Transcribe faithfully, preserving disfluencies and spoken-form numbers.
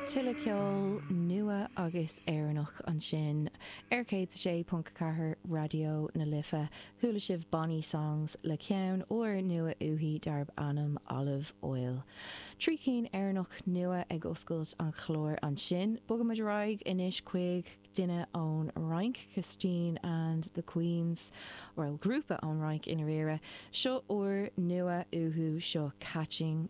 Tuilleadh ceol nua agus Éireannach ansin ar céad sé ponc ceathair Raidió na Life chuala sibh Bonnie Songs le ceann úr nua uaithi darb ainm Olive Oil. Trí cinn Éireannach nua ag oscailt an chláir ansin, Bogaimid ar aghaidh anois chuig duine ón Fhrainc, Christine and the Queens, or grúpa ón Fhrainc i ndáiríre, seo úr nua uathu seo Catching